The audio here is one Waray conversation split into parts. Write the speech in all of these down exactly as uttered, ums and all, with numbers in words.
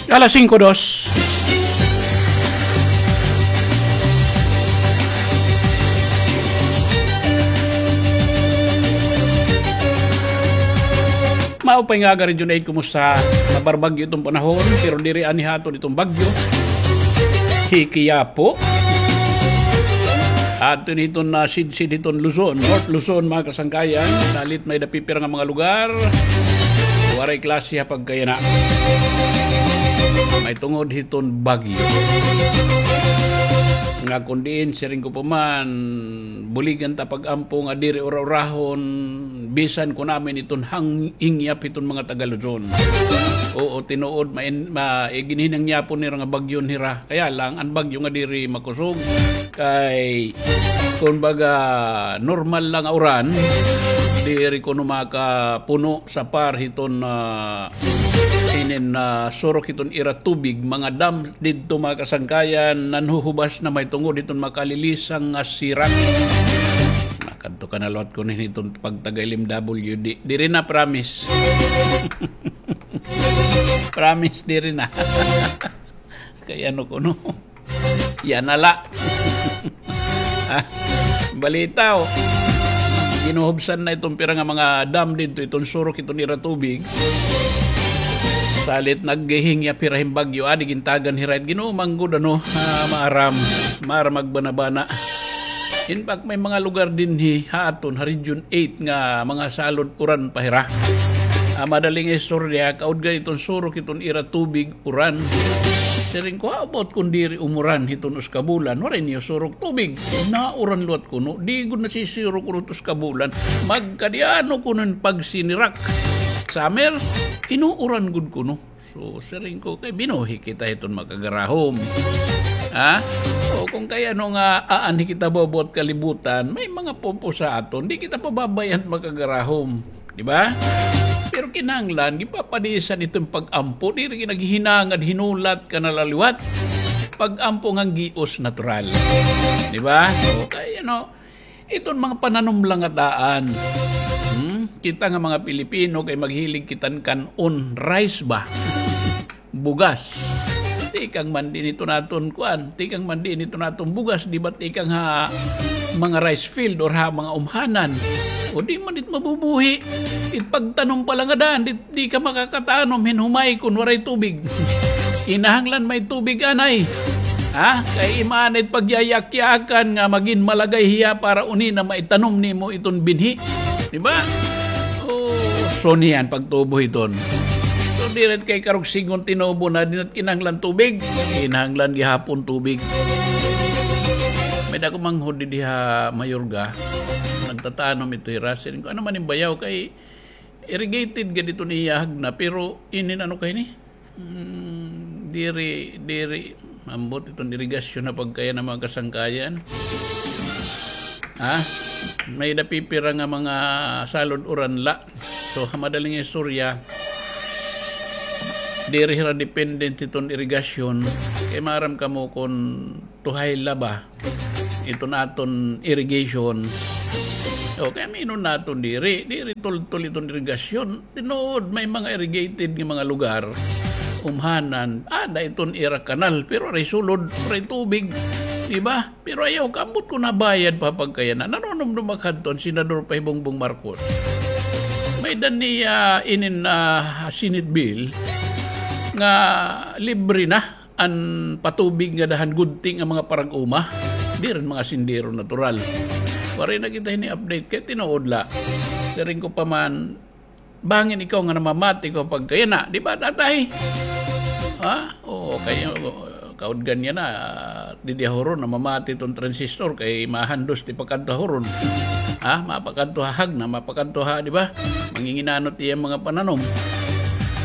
Alas singko dos. Maupay nga aga, Region eight, kumusta? Mabarbagyo iton panahon, pero diri anhi ha aton iton bagyo. Hi Quiapo. Aton iton, ah, sidsid hiton Luzon, North Luzon, mga kasangkayan. Salit may-ada pipira nga mga lugar, waray klase ha pagkayana. Mahitungod hiton bagyo. Nga kon diin, siring ko pa man, buligan ta pag-ampo nga diri ura-urahon, bisan kon amin iton hang-, hingyap hiton mga taga Luzon. Oo, tinuod, main-, ma-, eh, ginhinangyapon nira nga bagyo hira. Kaya lang, an bagyo nga diri makusog. Kay, kumbaga, normal la nga uran, diri kuno makapuno sa par hiton, ah, inin, ah, surok hiton ira tubig, mga dam didto, mga kasangkayan, nanhuhubas na mahitungod hiton makalilisang nga sirak. Makadto ka na liwat kuno hiton pagtaga-L M W D. Diri na, promise. Promise, diri na. Kay ano kuno. Yana la. Ah, balita, oh. Ginuhubsan na iton pira nga mga dam didto, iton surok, iton ira tubig. Salit naghihingyap hira hin bagyo, adi gintagan hira it Ginoo man gud, ano, ah, maaram, maaram magbana-bana. In fact, may mga lugar dinhi ha aton, ha Region eight nga mga salod uran pa hira. Ah, madaling istorya, kaudgan iton surok, iton ira tubig, uran. Siring ko, how about kon diri umuran hiton usa ka bulan, waray niyo surok tubig. Nauran liwat kuno, di gud nasisiro kuno it usa ka bulan. Magkadi-ano kuno hin pagsinirak. Summer, inuuran gud kuno. So, siring ko, kay binuhi kita hiton makagarahom. Ha? O, kon kay ano nga, aanhi kita bubuhat kalibutan, may mga pupusa aton, di kita pababayan makagarahom. Di ba? Pero kinahanglan, gipapadisan iton pag-ampo, diri ginaghinangad, hinulat ka na la liwat. Pag-ampo ngan gios natural. Di ba? Okay, ano, iton mga pananom la nga daan. Hmm? Kita nga mga Pilipino kay maghilig kita kan-on rice ba? Bugas. Tikang man diin iton aton kuan, tikang man diin iton aton bugas, di ba tikang ha mga rice field or ha mga umhanan. O di man it mabubuhi. It pagtanom pa la nga daan, di, di ka makakatanom hin humay kon waray tubig. Kinahanglan may tubig anay. Ha? Kay imaanay it pagyayakyakan nga magin malagay hiya para uni na maitanom nimo iton binhi. Di ba? O, so niyan pagtubo hiton. So, diri kay karuyag sidngon tinubo na, di na kinahanglan tubig. Kinahanglan gihapon tubig. May-ada ko manghod didi ha Mayorga. Nagtatanom ito hira. Siring ko, ano man hin bayaw kay irrigated gad iton iya hagna, pero inin ano kay ni? Mm, diri, diri, ambot iton irigasyon na pagkayana, mga kasangkayan. Ha? May-ada pipira nga mga salod uran la. So, ha madaling istorya, diri hira dependent hiton irigasyon. Kay maaram kamo kon tuhay la ba iton aton irrigation. O, kay aminon naton diri, diri tultol iton irigasyon. Tinuod, may mga irrigated nga mga lugar, umhanan, ada iton ira kanal, pero waray sulod, waray tubig. Di ba? Pero ayaw ka, ambot kon nabayad pa pagkayana. Nanunumdom ak hadton Senador pa hi Bongbong Marcos. May-ada niya inin, ah, Senate bill nga libre na an patubig ngada han gudti nga mga parag-uma, diri an mga sendero natural. Waray na kita hini-update kay tinuod la. Siring ko pa man, bangin ikaw nga namamati ko pagkayana, di ba, tatay? Ha? Oo, kay, kaudgan niya na, didi ha Huron, namamati iton transistor kay mahandos it pakadto ha Huron. Ha? Mapakadto ha hagna, mapakadto ha, di ba? Manginginanot iya mga pananom.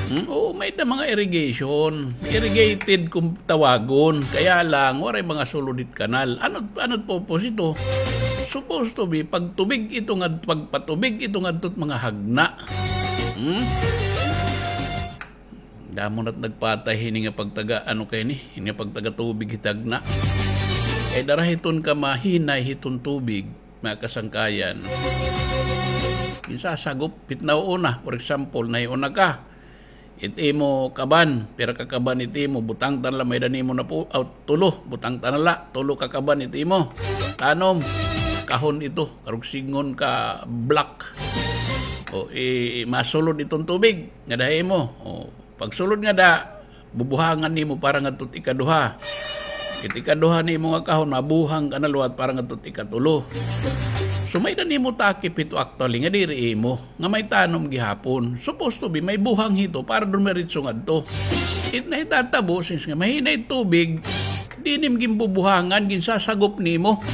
Hmm? Oo, may-ada mga irrigation. Irrigated kon tawagon. Kaya lang, waray mga sulod it kanal. Ano, ano it purpose ito? Supposed to be, pagtubig ito nga, pagpatubig ito ngadto it mga hagna. Hmm? Damo na it nagpatay hini nga pagtaga, ano kay ni? Hini nga pagtaga tubig hit hagna. Kay dara hiton kamahinay hiton tubig, mga kasangkayan. Ginsasagop hit nauuna, for example, nahiuna ka. It imo kaban, pira ka kaban it imo, butang ta na la, may-ada nimo na po, aw, tulo, butang ta na la, tulo ka kaban it imo. Tanom, kahon ito, karog sidngon ka block. O, i-, masulod iton tubig, ngada ha imo. O, pagsulod ngada, bubuhangan nimo para ngadto it ikaduha. It ikaduha nimo nga kahon, mabuhang ka na liwat para ngadto it ikatulo. So, may-ada nimo takip hito actually, nga diri imo. Nga may tanom gihapon. Supposed to be, may buhang hito para dumiretso ngadto. It nahitatabo, since nga mahina it tubig, di nim ginbubuhangan, ginsasagop nimo.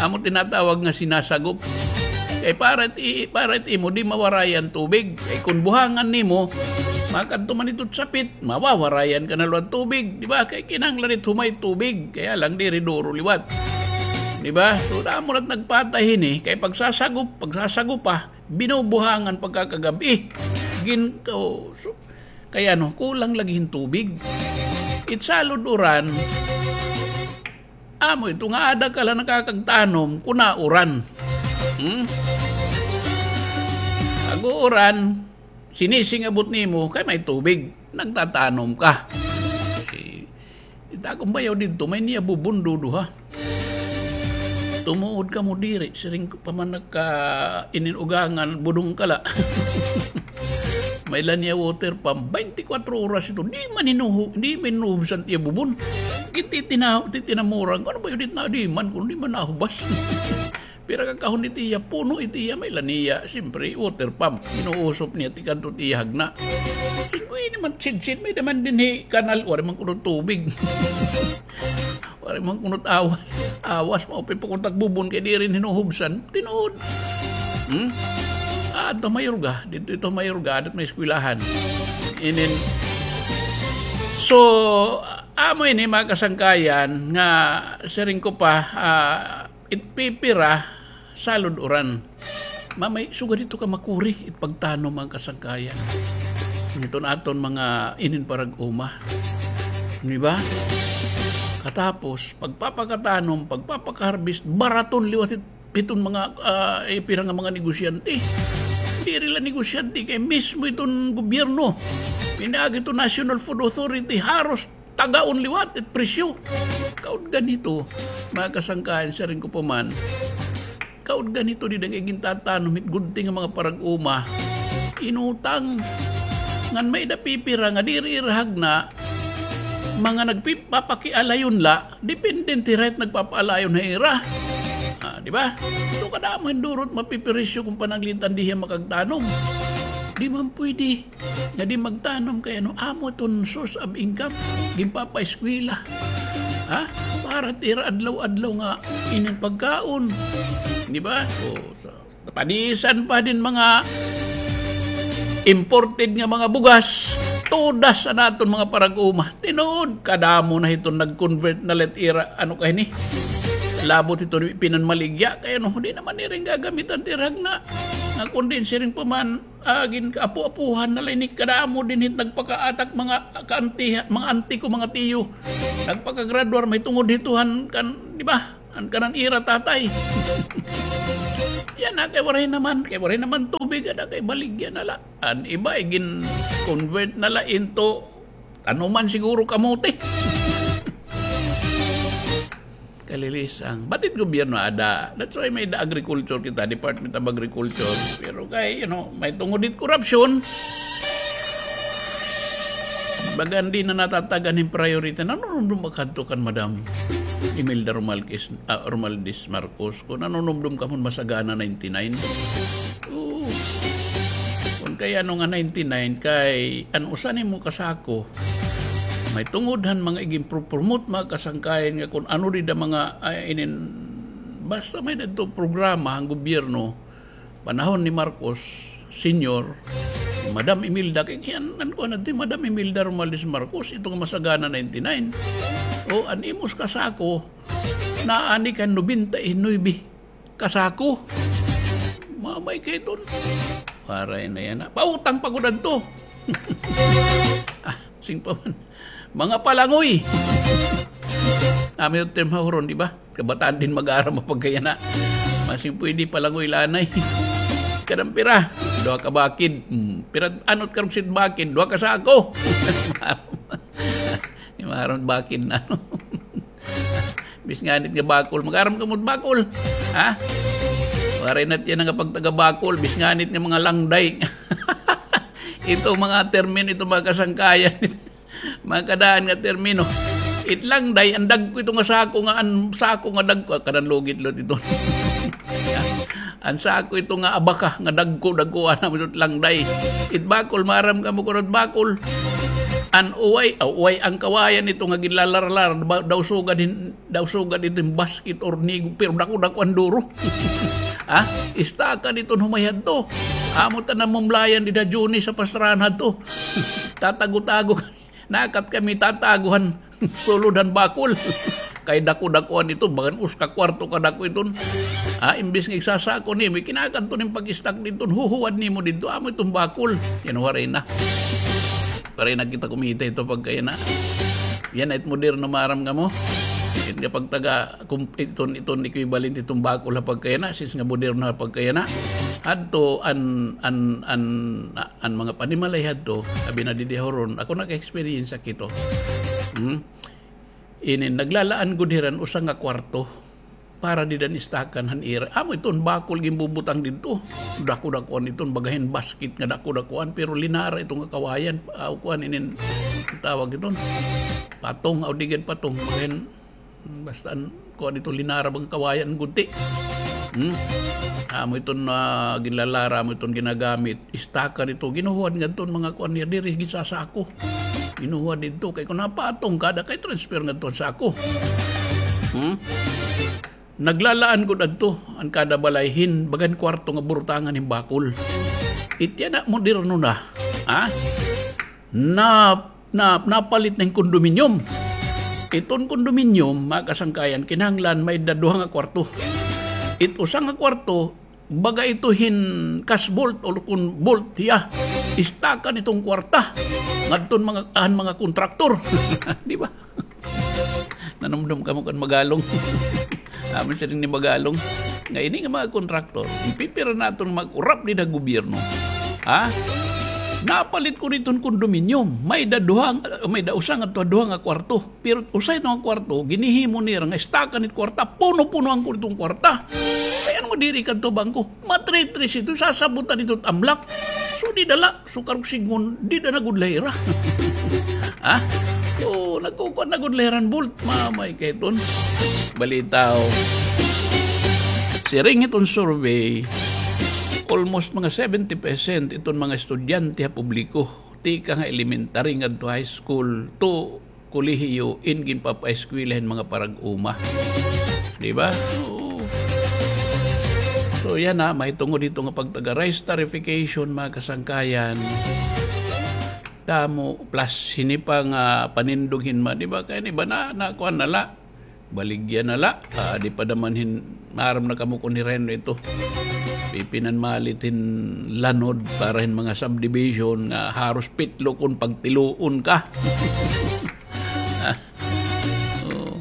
Amo tinatawag nga sinasagop. Kay para it, i-, para it imo, di mawarayan tubig. Kay kun buhangan nimo, makadto man ito sapit, mawawarayan ka na liwat tubig, di ba? Kay kinahanglan it humay tubig, kaya lang diri duro liwat. Di ba? So, damo na't nagpatay hini, kay pagsasagop, pagsasagop pa, binubuhangan pagkakagab-i. Gin-, oh, so, kay ano, kulang lagi hin tubig. It salud uran, amo ito nga ada ka la nakakagtanom, kun nauran. Hmm? Pag-uuran, sinising-abot nimo, kay may tubig, nagtatanom ka. Eh, it akon bayaw didto, may-ada niya bubon duduha. Tumuod kamo diri, siring ko pa man nagka inin ugangan, budong ka la. May-ada niya water pump, baynte kwatro oras ito, di man hinuhu-, di man hinuhubsan it iya bubon. Gintitinaw-, titinamuran ko, ano ba yun, it na, di man, kun di man nahubas. Pira ka kahon it iya, puno it iya, may-ada niya, siyempre, water pump. Inuusop niya, tikadto it iya hagna. Sige, ini man, sidsid, may-ada man dinhi kanal, waray man kuno tubig. Waray man kuno awas. Awas, maupay pa kuno it ak bubon, kay diri hinuhubsan. Tinuod. Hmm? Ah, adto Mayorga, didto ito Mayorga, ada it may eskwelahan. Inin. So, amo ini, mga kasangkayan, nga siring ko pa, ah, it pipira, salud uran. Mamay, sugad ito ka makuri, it pagtanom, mga kasangkayan. Iton aton mga inin parag-uma. Di ba? Katapos, pagpapakatanom, pagpapaka-harvest, baraton liwat it, iton mga, ah, eh, pira nga mga negosyante. Diri la negosyante, kay mismo iton gobyerno. Pinaagi iton National Food Authority, haros tagaon liwat it presyo. Kaudgan hito, mga kasangkayan, siring ko pa man, kaudgan hito dida nga igintatanom hit gudti nga mga parag-uma, inutang. Ngan may-ada pipira nga diri ira hagna, mga nagpapakialayon la, dependente la it nagpapaalayon ha ira. Ah, di ba? So, kadamo hin duro it mapipirisyo kun pananglitan di hiya makagtanom. Di man pwede. Nga di magtanom kay ano, amo iton source of income. Ginpapaeskwela. Ha? Para it ira adlaw-adlaw nga inin pagkaon. Di ba? O, so, padisan pa din mga imported nga mga bugas. Todas an aton mga parag-uma. Tinuod, kadamo na hiton nag-convert na la it ira, ano kay ni? Labot hiton pinanmaligya. Kay ano, di naman nira gagamitan it ira hagna. Nga kun diin siring pa man, ah, ginkaapo-apohan na la ini, kadamo dinhi it nagpakaatak mga kaanti, mga anti ko, mga tiyo. Nagpakagraduar mahitungod hito han kan, di ba? An kanan ira tatay. Yana, kay waray naman, kay waray naman tubig, ada kay baligya na la. An iba, igin-convert na la into tanuman siguro kamote. Kalilisang. But it gobyerno ada. That's why may-ada agriculture kita, Department of Agriculture. Pero kay, you know, mahitungod hit korupsyon, baga diri na natatagan hin priority. Nanunumdom ak hadto kan Madam Imelda Romalquez, ah, Romualdez Marcos. Kun nanunumdom kamo hin Masagana ninety-nine. Oo. Kun kay ano nga ninety-nine, kay an usa nimo kasako, mahitungod han mga igin-promote, mga kasangkayan, nga kun ano dida mga, ay, inin, basta may-ada didto programa han gobyerno, panahon ni Marcos Senior, ni Madam Imelda, kay kiyan, an kuan adto, Madam Imelda Romualdez Marcos, ito nga Masagana ninety-nine. O, an imo kasako, naani kan nobenta y nuebe kasako. Mamay kay ton. Waray na yana. Pautang pa gud adto. Ah, sing pa man. Mga palangoy. Amo it term ha huron, di ba? Kabataan din mag-aaram mapagkayana. Masing pwede palangoy lanay. Kadampira. Duha ka bakid. Hmm. Pira, ano it karuyag hit bakid? Duha ka sako. Maaram bakid na, no? Bis nganit nga bakol. Mag-aram kamo hit bakol. Ha? Waray na it yana nga pagtaga-bakol. Bis nganit nga mga langday. Ito mga termino, ito mga kasangkayan. Mga kadaan nga termino. It langday, an dagko ito nga sako nga, an sako nga dagko, ah, kanan lugit-lugit ito. An sako ito nga abaka, nga dagko, dagko, ano, ito it langday. It bakol, maaram kamo kuno it bakol. An uway, ah, uway an kawayan ito nga ginlalarlar, ba-, daw sugad hin-, daw sugad ito hin basket or nigog, pero dako-dako an duro. Ha? Istaka didto hin humay hadto. Amo ta namumlayan dida Juni sa pastrahan hadto. Tatago-tago kami. Nakat kami tatago han sulod han bakol. Kay dako-dako an ito, bagan usa ka kwarto kadako iton. Ha, imbis nga igsasako nimo, ikinakadto nimo pag-istak didto, huhuwad nimo didto, amo iton bakol. Yana, waray na. Waray na kita kumita hito pagkayana. Yana it moderno, maaram kamo. It nga pagtaga, kum-, iton, iton equivalent iton bakol ha pagkayana, since nga moderno ha pagkayana. Hadto an, an, an, an mga panimalay hadto, abi na didi ha Huron, ako naka-experience ak hito. Hmm? Inin, naglalaan gud hira hin usa nga kwarto para dida han istakan han ira. Amo iton bakol ginbubutang didto. Dako-dakoan iton, baga hin basket nga dako-dakoan, pero linara ito nga kawayan, aw, kuan inin tawag iton. Patong, aw, di gad patong, baga hin, basta an, kuan ito, linara bang kawayan gud ti. Hmm? Amo iton, ah, ginlalara, amo iton ginagamit. Istaka didto, ginhuhuwad ngadto an mga kuan niya, diri ginsasako. Ginhuhuwad didto, kay kon napatong ka, ada kay transfer ngadto an sako. Hmm? Naglalaan gud adto an kada balay hin bagan kwarto nga burutangan hin bakol. It yana moderno na, ha? Na, na, napalit na hin condominium. Iton condominium, mga kasangkayan, kinahanglan may-ada duha nga kwarto. It usa nga kwarto, baga ito hin cash vault o kun vault hiya. Istakan iton kwarta ngadton mga, han mga kontraktor. Di ba? Nanumdom kamo kan Magalong. Amo siring ni Magalong nga ini nga mga kontraktor, ipipira naton mag-urap dida ha gobyerno. Ha? Napalit ko didto hin condominium. May-ada duha, may-ada usa ngadto ha duha nga kwarto. Pero usa ito nga kwarto, ginhihimo nira nga istakan it kwarta, puno-punoan ko iton kwarta. Kay ano nga diri kadto bangko? Matritres ito, sasabutan ito it amlak. So, dida la, so karuyag sidngon, dida na gud la hira. Ha? O, nagkukuan na gud la hira hin vault. Mamay kay iton. Balitaw. Siring iton survey, almost mga seventy percent iton mga estudyante ha publiko, tikang ha elementary ngadto high school, to kolehiyo, in ginpapaeskwela hin mga parag-uma. Di ba? Oo. So, yana, mahitungod hito nga pagtaga-rice tarification, mga kasangkayan. Damo, plus hini pa nga panindog hin ma-, di ba? Kay ini ba na, na kuan na la. Baligya na la. Ah, di pa daman hin, maaram na kamo kon hira hin ito. Pipinanmalit hin lanod para hin mga subdivision nga haros pitlo kon pagtiluon ka. Ah, oo.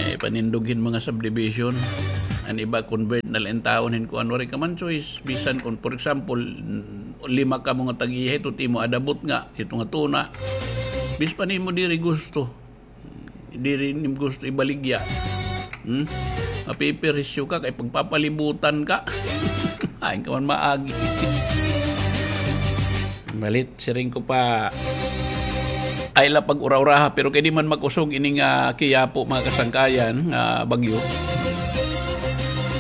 Eh, panindog hin mga subdivision. An iba convert na la intawon hin kuan, waray ka man choice. Bisan kon, for example, lima kamo nga tag-iya hito, it imo adabot nga, hito nga tuna. Bis pa nimo diri gusto. Diri nimo gusto ibaligya. Hmm? Mapipirisyo ka kay pagpapalibutan ka. Hain ka man maagi. Balit, siring ko pa, ay la pag-ura-uraha, pero kay di man mag-usog ini nga Kiyapo, mga kasangkayan, nga bagyo.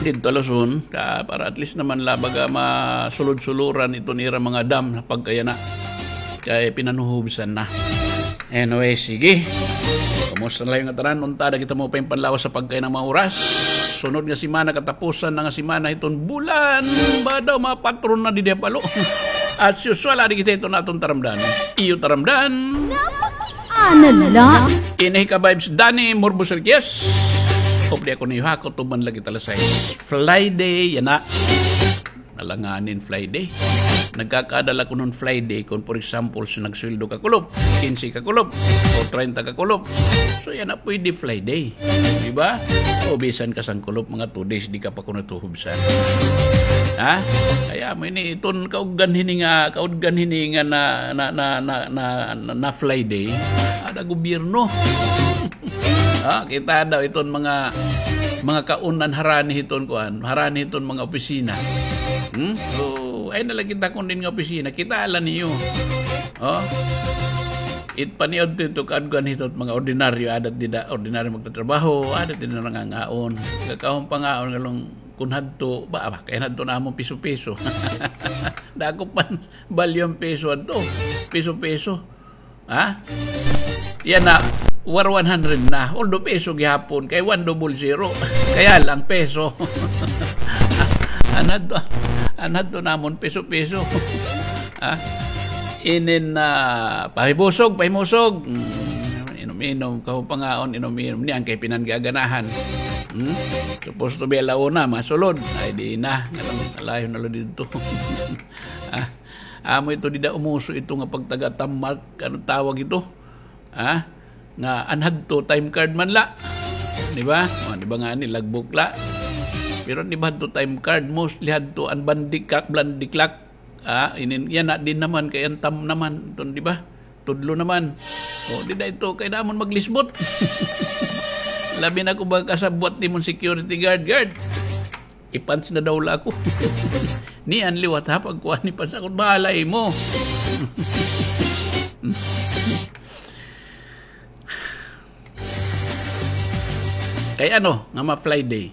Didto ha Luzon, ka, para at least naman la baga masulod-suluran iton ira mga dam ha pagkayana. Kay pinanuhubsan na. Anyway, sige. Kumusta na la nga tanan? Unta, ada kita mo pa hin panlawas ha pagkayana nga mga oras. Sunod nga semana, katapusan na nga semana hiton bulan. Ba daw, mga patron na didi ha Palo. As usual, adi kita hiton aton taramdan. Iyo taramdan. Ano la? Ini hi Ka-Vibes Danny Morbos Riquez. Updi ako niyo ha, kutob man la kita alas sais. Friday, yana. Alanganin fly day. Nagkakaada la kuno hin fly day kon, for example, sa nagsweldo ka kulop, kinse ka kulop, o treinta ka kulop. So, yana pwede fly day. Di ba? O bisan ka sangkulop, mga two days, di ka pa kuno tuhubsan. Ha? Kay amo ini, iton kaudgan hini nga, kaudgan hini nga na, na, na, na, na, na, na fly day, ada gobyerno. Ha? Kita daw iton mga, mga kaunan harani hiton kuan, harani hiton mga opisina. Hmm? So, ay na la kita kon diin nga opisina, kita la niyo. Oh? It paniudto ito kaudgan hito mga ordinaryo, ada it dida, ordinaryo magtatrabaho, ada it dida nangangaon. Kakahon pangaon ngalong kun hadto, ba, ba, kay hadto namon piso-piso. Dako pa hin balyo an piso hadto. Piso-piso. Ha? Yana, war one hundred na. Although piso gihapon, kay one double zero. Kaya lang piso. An hadto, an hadto namon piso-piso. Ha? Inin, ah, pahibusog, pahimusog. Mm, inom-inom, kahon pangaon, inom-inom. Niyan kay pinanggaganahan. Hmm? Supposed to be ala una, masulod. Ay, di na. Nganong alayon na la didto. Ah, amo ito, dida umuso ito nga pagtaga-Tamark, ano tawag ito? Ha? Nga an hadto time card man la. Di ba? O, di ba ngani, logbook la. Pero an iba hadto time card, mostly hadto an bandikak, blandiklak. Ah, inin, yana, di naman, kay an tam naman, iton, di ba? Tudlo naman. O, dida ito, kay namon maglisbot. Labi na kon baga kasabwat nimon security guard, guard. Ipans na daw la ako. Niyan liwat ha, pagkuha ni pans ako, bahala imo. Kay ano, nga ma-fly day.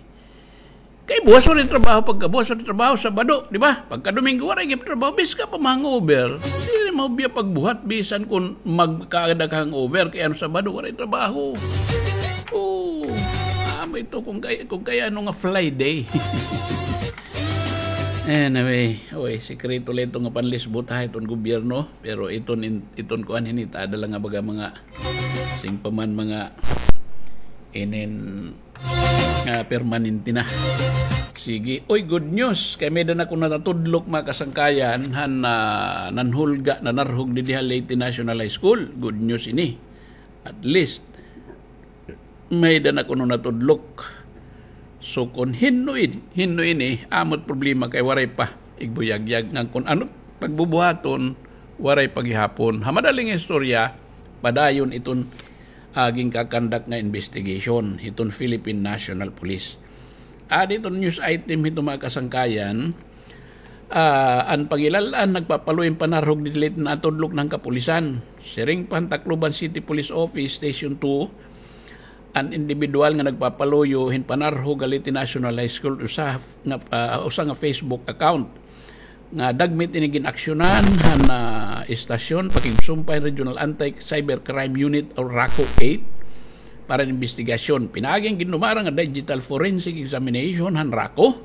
Kay buwas waray trabaho, pagkabuwas waray trabaho, Sabado, di ba? Pagka Domingo, waray gihap trabaho, bisan ka pa ma-hangover. Diri maubya pagbuhat, bisan kon magkaada ka hangover, kay ano, Sabado, waray trabaho. Oo. Amo ito kon kay, kon kay ano nga fly day. Anyway, oy, sikreto la ito nga panlisbot ha, iton gobyerno. Pero iton, in-, iton kuan hini, tada la nga baga mga, sing pa man mga inin, ah, permanente na. Sige. Oy, good news. Kay may-ada na kuno natudlok, mga kasangkayan, han, ah, nanhulga, nanarhog didi ha Leyte National High School. Good news ini. At least, may-ada na kuno natudlok. So, kon hin-o ini, hin-o ini, amo it problema kay waray pa igbuyagyag ngan kon ano pagbubuhaton, waray pa gihapon. Ha madaling istorya, padayon iton, ah, ginkakandak nga investigation hiton Philippine National Police. Adi iton news item hito, mga kasangkayan. Ah, an pangilal-an nagpapaluyo hin panarhog didi ha Leyte, natudlok na han kapulisan. Siring pa han Tacloban City Police Office Station two, an indibidwal nga nagpapaluyo hin panarhog ha Leyte National High School, usa nga, ah, usa nga Facebook account nga dagmit ini gin-aksyonan han, ah, istasyon pakigsumpay han Regional Anti-Cybercrime Unit o RACU eight para han imbestigasyon. Pinaagi han gindumarang nga digital forensic examination han RACU,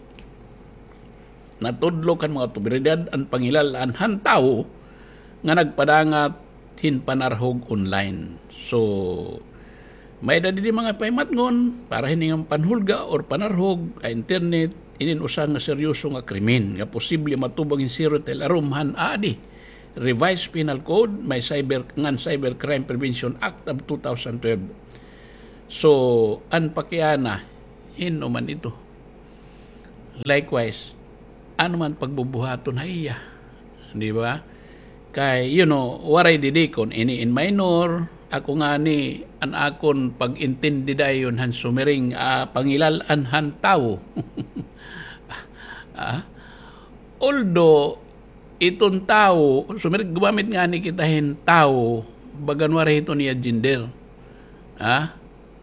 natudlok han mga awtoridad an pangilal-an han tawo nga nagpadangat hin panarhog online. So, may-ada didi mga pahimatngon para hini nga panhulga or panarhog ha internet, inin usa nga seryoso nga krimen nga posible matubang hin serious alarm han adi Revised Penal Code, may cyber, ngan Cybercrime Prevention Act of two thousand twelve. So, an pakiana, hin-o man ito? Likewise, ano man pagbubuhaton ha iya? Di ba? Kay, you know, waray didi kon ini in minor, ako ngani, an akon pag-intindi dayon han sumiring, ah, pangilal-an han tawo. Ah? Although, iton tawo, sumiring, gumamit ngani kita hin tawo, bagan waray iton iya gender. Ah?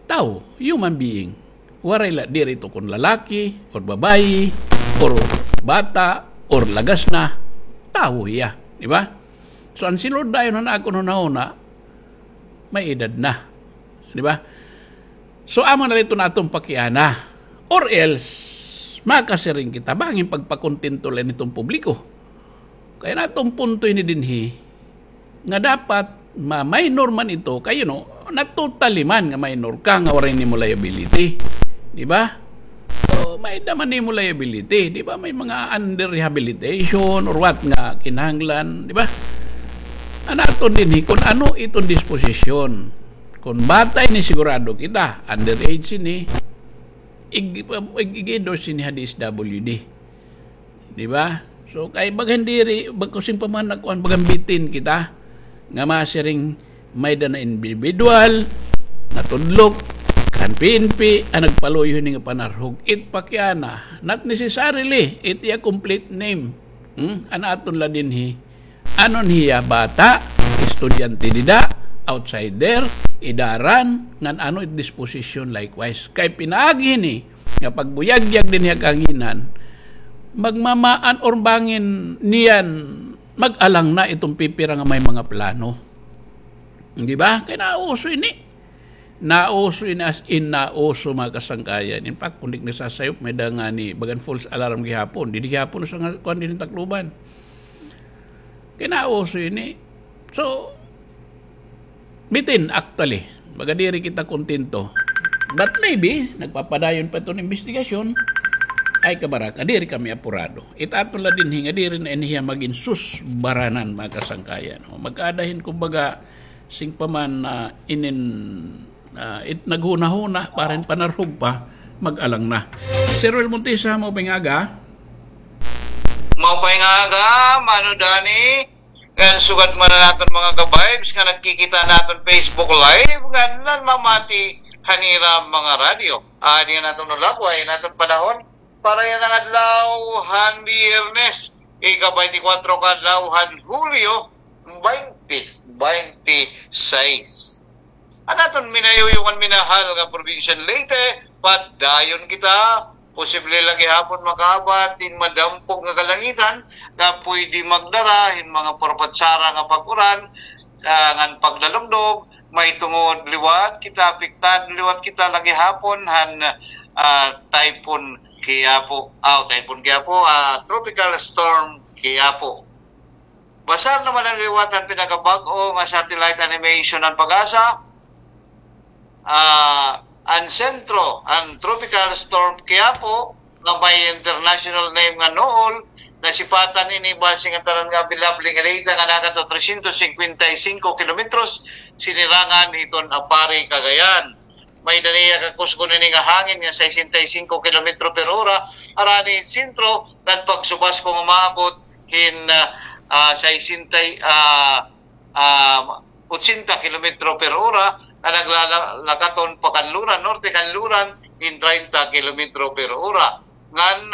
Tawo, human being. Waray la, diri ito kon lalaki, or babayi, or bata, or lagas na, tawo hiya. Di ba? So, an si Lord dayon han akon hunahuna, may edad na. Di ba? So, amo na la iton aton pakiana. Or else, makasiring kita, bangin pagpakontento la ini hiton publiko. Kay an aton punto ini dinhi, nga dapat ma-, minor man ito, kay, you know, natutali man nga minor ka, nga waray nimo liability. Di ba? So, may-ada man nimo liability, di ba? May mga under rehabilitation or what nga kinahanglan, di ba? An aton dinhi, kun ano iton disposisyon. Kun bata ini, sigurado kita, underage ini, ig-, ig-, ig-endorse ini ha D S W D. Di ba? So, kay bagan diri, bag-, kusing pa man nakuan, bagan bitin kita, nga masiring may-ada na individual, natudlok, kan P N P, an nagpaluyo hini nga panarhog. It Pakiana, not necessarily, it iya complete name. Hmm? An aton la dinhi, ano niya, bata, estudyante dida, outsider, idaran, ngan ano it disposition likewise. Kay pinaagi hini, nga pagbuyagyag dinhi ha kahanginan, magmamaan or bangin niyan, mag-alang na iton pipira nga may mga plano. Di ba? Kay nauso ini. Nauso ini, as in nauso, mga kasangkayan. In fact, kun di nasasayop, may-ada ngani bagan false alarm gihapon. Didi gihapon sa nga kuan dinhi Tacloban. Kay nauso ini. So, bitin, actually, baga diri kita kontento. But maybe, nagpapadayon pa iton imbestigasyon, ay kabaraka, diri kami apurado. It aton la dinhi nga diri na ini hiya magin susbaranan, mga kasangkayan. O, magkada hin, kumbaga, sing pa man, ah, inin, ah, it naghunahuna, para hin panarhog pa, mag-alang na. Sir Will Montesa, maupay nga aga. Maupay nga aga, Mano Danny. Ngan sugad man an aton mga ka-vibes nga nagkikita naton Facebook Live, ngan nanmamati han ira mga radyo. Adi an aton ulap, waray an aton panahon para yana nga adlaw han Biyernes, ika-baynte kwatro ka adlaw han Hulyo, baynte baynte sais. An aton minayuyong ngan minahal nga Probinsya han Leyte, padayon kita, posible la gihapon makaabat hin madampog nga kalangitan nga pwede magdara hin mga parapatsara nga pag-uran, ah, ngan pagdalugdog, mahitungod liwat kita, apektado liwat kita la gihapon han, ah, Typhoon Kiapo, ah, Typhoon Kiapo, ah, Tropical Storm Kiapo. Basar naman an liwat han pinakabag-o nga satellite animation han PAGASA. Ah, an sentro han Tropical Storm Kiapo, nga may international name nga Nool, nasipatan ini base ngan tanan nga available nga data nga nakadto trescientos cincuenta y cinco kilometros sinirangan hiton Aparri, Cagayan. May-ada niya kakusgon ini nga hangin nga sesenta y cinco kilometro per ora, harani hin sentro, ngan pagsubasko nga maabot hin, ah, ah, sesenta, ah, ah, ochenta kilometro per ora, nga naglalakaton pakanluran, norte kanluran, hin treinta kilometro per ora. Ngan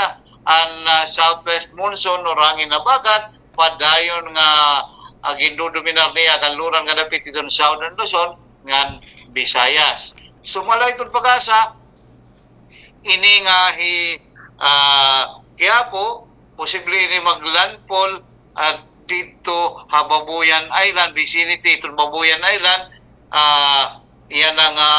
an, ah, southwest monsoon or hangin habagat, padayon nga, ah, gindodominar niya kanluran nga dapit hiton Southern Luzon ngan Visayas. Sumala hiton PAGASA, ini nga hi, ah, Quiapo, posible ini maglandfall, ah, didto ha Babuyan Island, vicinity hiton Babuyan Island, ah, yana nga,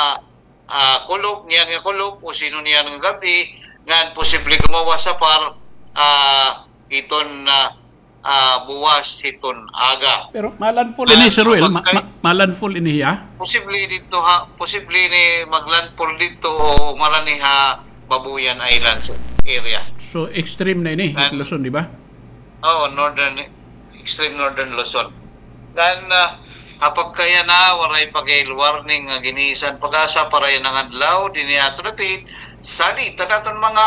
ah, kulop, niyan nga kulop, o sino niyan nga gab-i, ngan posible gumawas ha par, ah, hiton, ah, ah, buwas hiton aga. Pero ma-landfall ini, Sir Will? Ma-, ma-, ma-landfall ini hiya? Posible didto ha, posible ini mag-landfall didto o marani ha Babuyan Islands area. So, extreme na ini, Luzon, di ba? Oo, northern, extreme northern Luzon. Ngan, ah, ha pagkayana, waray pa gihap warning nga gin-iisyu han PAGASA para yana nga adlaw, dinhi ha aton dapit. Salit an aton mga,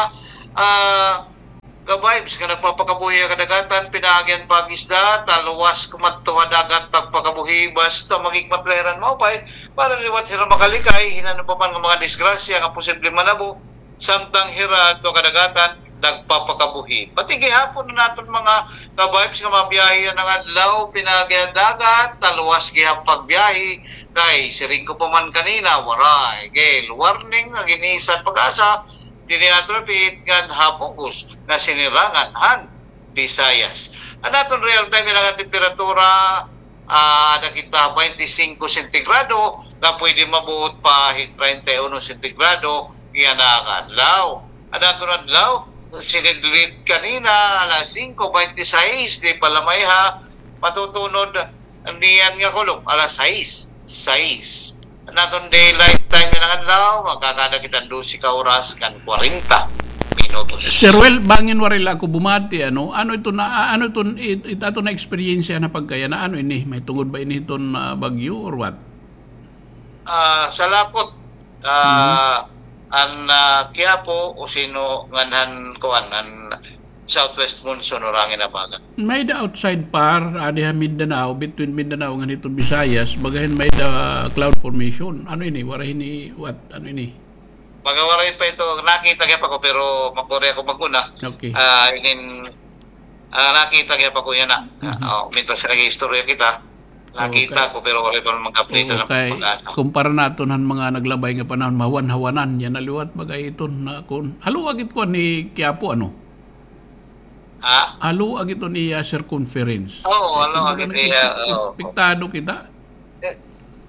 ah, ka-vibes nga nagpapakabuhi ha kadagatan, pinaagi han pag-isda, taluwas kumadto ha dagat pagpakabuhi, basta maghikmat la hira hin maupay, para liwat hira makalikay hin ano pa man nga mga disgrasya nga posible manabo, samtang hira adto ha kadagatan nagpapakabuhi. Pati gihapon an aton mga ka-vibes nga mabiyahe yana nga adlaw, pinaagi ha dagat, taluwas gihap pagbiyahe, kay siring ko pa man kanina, waray gihap warning nga gin-iisyu han PAGASA, dinhi ha aton dapit ngan ha bug-os nga sinirangan han Visayas. An aton real time yana nga temperatura, ah, ada kita baynte singko sentigrado, nga pwede mabuot pa hin treinta y uno sentigrado yana nga adlaw. An aton adlaw, sinidlit kanina, alas singko baynte sais, di pa la maiha, matutunod niyan nga kulop, alas sais, sais. An aton daylight time yana nga adlaw, makakaada kita hin dose ka oras ngan kwarenta. minutos. Sir Well, bangin waray la ako bumati, ano? Ano ito na, ano ito, it-, it-, ato na eksperyensya na pagkaya na ano ini? May tungod ba ini iton, ah, bagyo or what? Ah, sa lapot, ah, an, ah, Quiapo o sino ngan han kuan, an southwest monsoon, urangin na baga. May-ada outside par, adi ha Mindanao, between Mindanao ngan hiton Visayas, bagahin may-ada cloud formation. Ano ini? Waray ini, what? Ano ini? Baga waray pa ito, nakita gihap ako, pero makuri ako mag-una. Okay. Ah, inin, ah, nakita gihap ako yana. Ah, oh, mintras nag-iistorya kita, nakita ko, pero waray pa man mag-update na kay pag-asa. Kumpara naton han mga naglabay nga panahon, mahawan-hawanan yana liwat, bagay iton na kun, halo agit ko ni Quiapo, ano? Ha? Halo agit iton iya circumference. Oo, halo agit iya, oo. Apektado kita. Eh,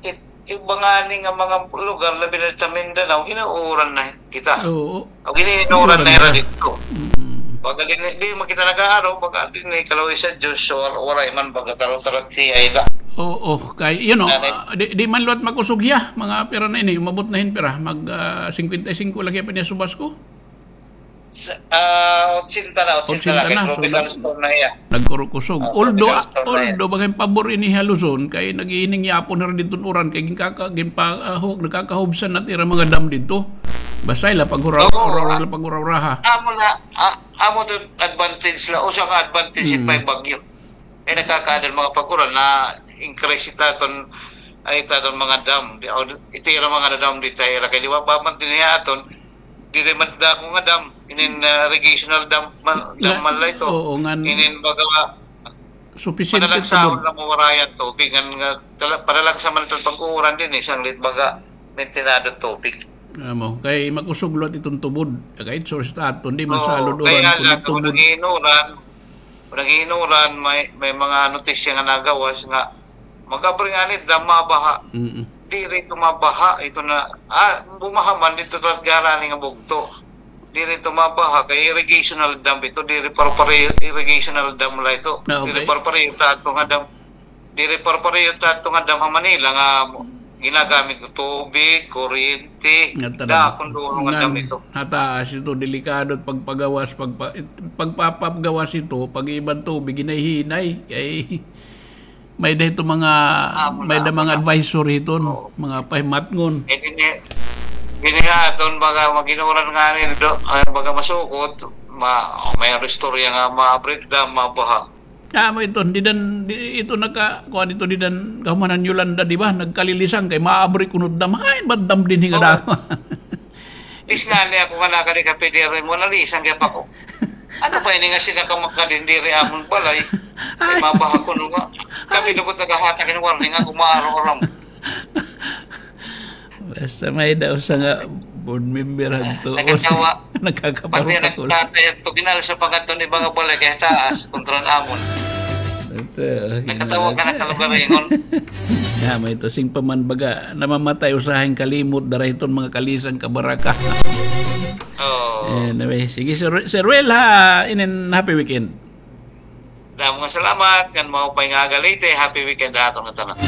it-, iba ngani nga mga lugar, labi na sa Mindanao, ginuuran na kita. Oo. O, giniinuran na hira didto. Mm. Baga dinhi, di man kita nag-aaro, baga dinhi, kaluoy sa Diyos, so, wal-, waray man, baga taro-taro siya, ila. Oo, kay, you know, ah, di, di man liwat makusog hiya, mga pira na ini, umabot na hin pira, mag, ah, singkwenta y singko lagi pa niya subas ko. Sa, ah, otsenta na, otsenta na, kay tropical storm na hiya. Nagkurukusog. Although, although, bagay pabor ini ha Luzon, kay nag-iining yapon hira didto uran, kay ginkaka-, ginpa-, ah, hu-, nagkakahubsan na it ira mga dam didto. Basta ila paghura-, hura-, hura-, paghura-huraha. Amo na, ah, amo to advantage la, usa ka advantage it may bagyo. Kay nakakaada an mga pag-uran na increase it aton, ay, it aton mga dam. Di, o, it ira mga dam didto ha ira kay liwat pa man dinhi ha aton, diri man dako nga dam, inin, ah, irrigational dam man, dam man la ito. Oo, ngan inin baga sufficient padalagsahon la mawarayan tubig, ngan nga dala-, padalagsa man ito pag-uuran dinhi, sanglit baga maintenado tubig. Amo, kay makusog liwat iton tubod. Kay it source it aton, di man salod uran, kay nga kun la, tubod. Nag-iinuran, Nag-iinuran, may, may mga notisya nga nagawas nga mag-abri ngani it dam, mabaha. Mm. Diri ito mabaha, ito na, ah, bumaha man didto ha Garani nga bugto. Diri ito mabaha, kay irrigational dam ito, diri pare-pareho, irrigational dam la ito. Ah, okay. Diri pare-pareho it aton nga dam. Diri pare-pareho it aton nga dam ha Manila nga ginagamit nga tubig, kuryente, dako nga dulo nga dam ito. Ha taas ito, delikado it pagpagawas, pagpa-, pagpapagawas ito, pag-iiba hin tubig, hinay-hinay. Kay may-ada ito mga, may-ada mga advisor hiton, mga pahimatngon. Eh, dinhi, dinhi ha aton, baga mag-inuran ngani do, ay, baga masukot, ma-, may istorya nga ma-breakdown, mabaha. Amo ito, dida, di, ito naka-, kuan ito, dida, kahuman han Yolanda, di ba? Nagkalilisang kay maabri kuno it dam. Hain ba it dam dinhi nga dako? Is ngani ako nga nakadi ka P D R M, nalisang gihap ako. Ano ba ini nga sila ka makadindiri amon balay? Ay, mabaha kuno nga. Kami lugod naghahatag hin warning nga kumaaro-aram. Basta may-ada usa nga board member hadto. Nakakatawa. Nakakaparutakol. Pati nagtatay hadto, ginalsa pa ngadto ni mga balay kay taas, kontra namon. Ito, nakatawa ka na kalugaringon. Amo ito, sing pa man baga, namamatay usahay hin kalimot, dara hiton mga kalisang kabaraka. Oo. Anyway, sige, Sir, Sir Ruel, ha, inin happy weekend. Damo nga salamat, ngan maupay nga aga, Leyte. Happy weekend ha aton nga tanan.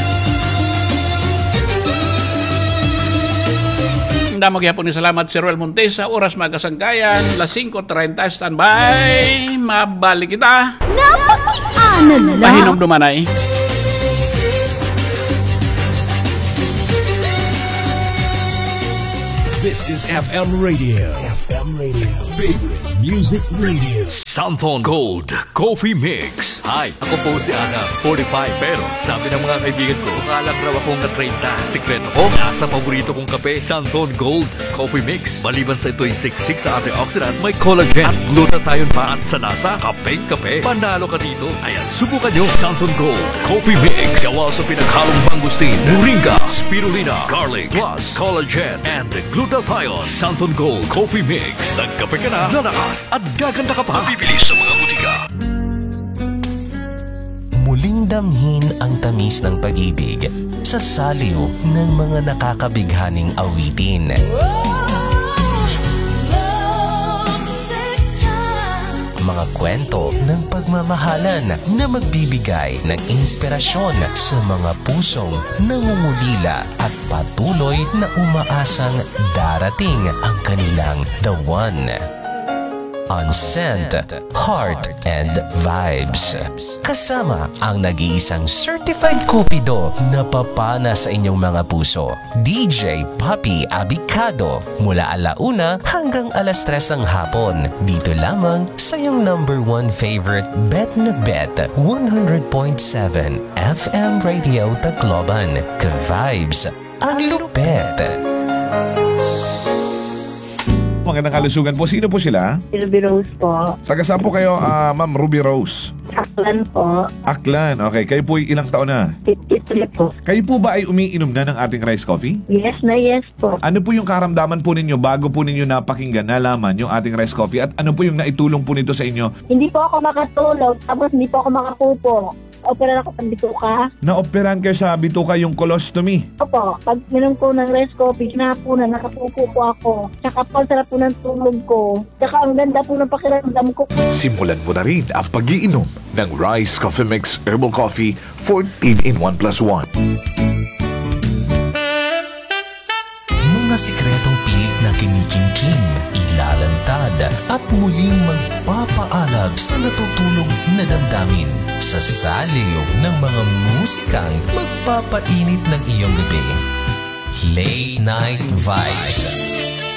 Damo gihapon nga salamat, Sir Ruel Montes. Sa oras, mga kasangkayan, las singko treinta, standby. Mabalik kita. Napakiana la. Pahinumduman ay. This is F M Radio. F M Radio. Favorite Music Radio. Santhon Gold Coffee Mix. Hi, ako po si Adam, forty-five. Pero sabi ng mga kaibigan ko, mukha lang raw akong na-treinta. Sikreto ko, nasa paborito kong kape, Santhon Gold Coffee Mix. Maliban sa ito'y siksik sa antioxidants, may collagen at glutathione pa. At sa lasa, kapeng-kape. Panalo ka dito. Ayan, subukan nyo. Santhon Gold Coffee Mix. Gawa sa pinaghalong mangosteen, moringa, spirulina, garlic, plus collagen and glutathione. Santhon Gold Coffee Mix. Nagkape ka na, lalakas at gaganda ka pa. Mabibili sa mga butika. Muling damhin ang tamis ng pag-ibig sa saliw ng mga nakakabighaning awitin. Mga kwento ng pagmamahalan na magbibigay ng inspirasyon sa mga pusong nangungulila at patuloy na umaasang darating ang kanilang the one. on scent, heart, and vibes. Kasama ang nag-iisang certified cupido na papana sa inyong mga puso, D J Papi Abicado, mula ala una hanggang alas tres ng hapon, dito lamang sa iyong number one favorite Bet na Bet, one hundred point seven F M Radio Tacloban. Ka-vibes, ang lupet. Magandang kalusugan po. Sino po sila? Ruby Rose po. Taga saan po kayo, ah, Ma'am Ruby Rose? Aklan po. Aklan. Okay. Kayo po ay ilang taon na? Fifty-three po. Kayo po ba ay umiinom na ng ating rice coffee? Yes na yes po. Ano po yung karamdaman po ninyo bago po ninyo napakinggan, nalaman yung ating rice coffee? At ano po yung naitulong po nito sa inyo? Hindi po ako makatulog, tapos hindi po ako makapupo. Operahan ako sa bituka. Naoperahan kayo sa bituka, yung colostomy? Opo. Pag minom ko ng rice coffee, hinapunan, nakapupo po ako. Tsaka po, ang sarap po ng tulog ko. Tsaka ang ganda po ng pakiramdam ko. Simulan mo na rin ang pag-iinom ng Rice Coffee Mix Herbal Coffee fourteen in one plus one. Mga sikretong pilit na kinikimkim, ilalantad, at muling magpapaalab sa natutulog na damdamin. Sa saliw ng mga musikang magpapainit ng iyong gabi. Late Night Vibes.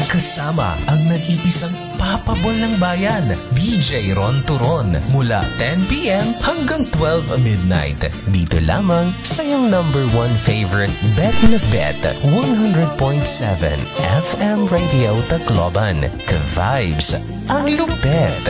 Kasama ang nag-iisang papabol ng bayan, D J Ron Turon, mula ten P M hanggang twelve midnight. Dito lamang sa iyong number one favorite Bet na Bet, one hundred point seven F M Radio Tacloban. Ka-vibes, ang lupet.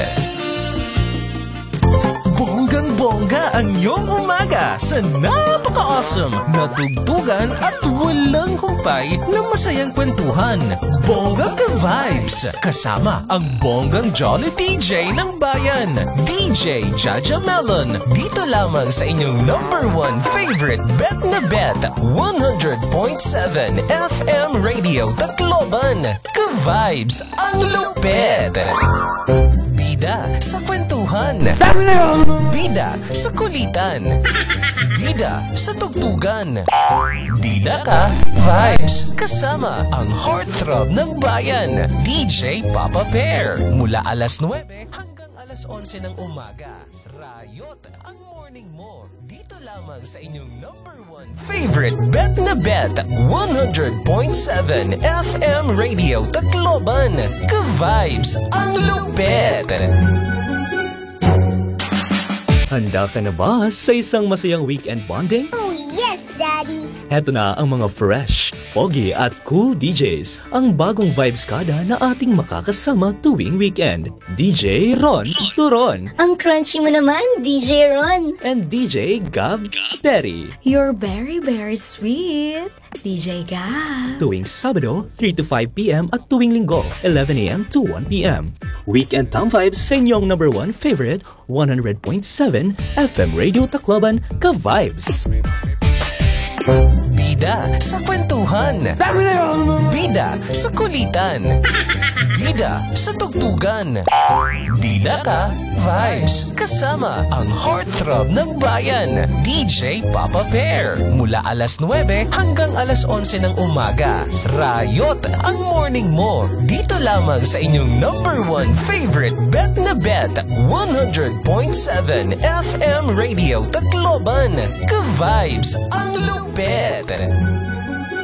Bonggang-bongga ang iyong umaga sa napaka-awesome na tugtugan at walang humpay na masayang kwentuhan. Bongga Ka-vibes, kasama ang bonggang jolly D J ng bayan, D J Jaja Melon, dito lamang sa inyong number one favorite Bet na Bet, one hundred point seven F M Radio Tacloban. Ka-vibes, ang lupet! Bida sa kwentuhan. Bida sa kulitan. Bida sa tugtugan. Bida Ka-vibes, kasama ang heartthrob ng bayan, D J Papa Bear. Mula alas nuwebe hanggang alas onse ng umaga. Rayot ang morning mo. Dito lamang sa inyong number one favorite Bet na Bet, one hundred point seven F M Radio Tacloban. Ka-vibes, ang lupet! Handa ka na ba sa isang masayang weekend bonding? Oh, yes, Daddy! Heto na ang mga fresh, pogi at cool D Js, ang bagong vibes kada na ating makakasama tuwing weekend. D J Ron Turon. Ang crunchy mo naman, D J Ron. And D J Gab Perry. You're very, very sweet, D J Gab. Tuwing Sabado, three to five P M at tuwing Linggo, eleven A M to one P M. Weekend Tam Vibes sa inyong number one favorite, one hundred point seven F M Radio Tacloban, Ka-vibes. Bida sa kwentuhan. Bida sa kulitan. Bida sa tugtugan. Bida Ka-vibes. Kasama ang heartthrob ng bayan, D J Papa Bear. Mula alas nuwebe hanggang alas onse ng umaga. Rayot ang morning mo. Dito lamang sa inyong number one favorite Bet na Bet, one hundred point seven F M Radio Tacloban. Ka-vibes, ang lupet!